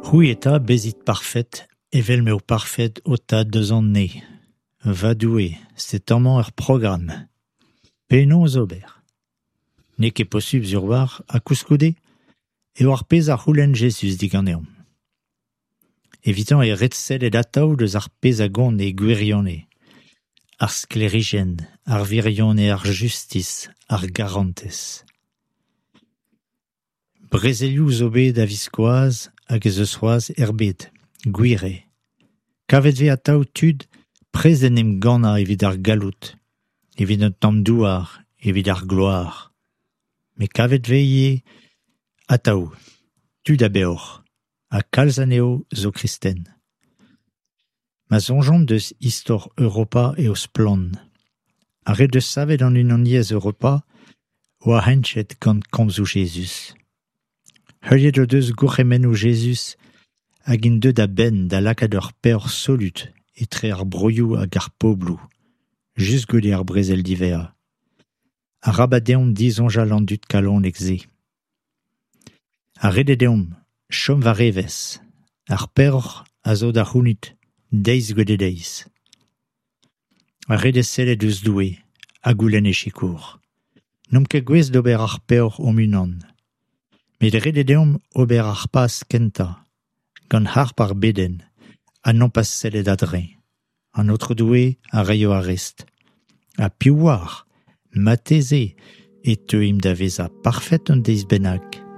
C'hwi eta bezit parfet evel m'eo parfet ho Tad eus an Neñv. Va Doue, setu amañ ur programm ! Penaos ober ? N'eo ket posupl sur-walc'h ha koulskoude eo ar pezh a c'houlenn Jezuz diganeomp. Evitañ eo ret sellet atav deus ar pezh a gont e gwirionez : ar sklêrijenn, ar wirionez, ar justis, ar garantez. Brezelioù zo bet a-viskoazh hag ez eus c'hoazh er bed, gwir eo. Kavet 'vez atav tud prest d'en em gannañ evit ar galloud, evit un tamm douar, evit ar gloar. Met kavet 'vez ivez atav tud a beoc'h ha kalz anezho zo kristen. Ma soñjomp deus istor Europa eo splann. Ar re 'deus savet an Unaniezh Europa 'oa heñchet gant komzoù Jezuz. Heuliet o deus gourc'hemennoù Jezuz hag int deuet a-benn da lakaat ur peoc'h solut etre ar broioù hag ar pobloù, just goude ar brezel diwezhañ. Arabat deomp disoñjal an dud kalonek-se. Ha ret eo deomp chom war evezh, ar peoc'h a zo da c'hounit deiz goude deiz. Ha ret eo sellet ouzh Doue ha goulenn e sikour. N'omp ket gouest d'ober ar peoc'h hon-unan. Met ret eo deomp ober ar paz kentañ, gant harp ar bedenn, ha nompas sellet a-dreñv. An Aotrou Doue a raio ar rest. Ha piv 'oar, marteze e teuimp da vezañ parfet un deiz bennak.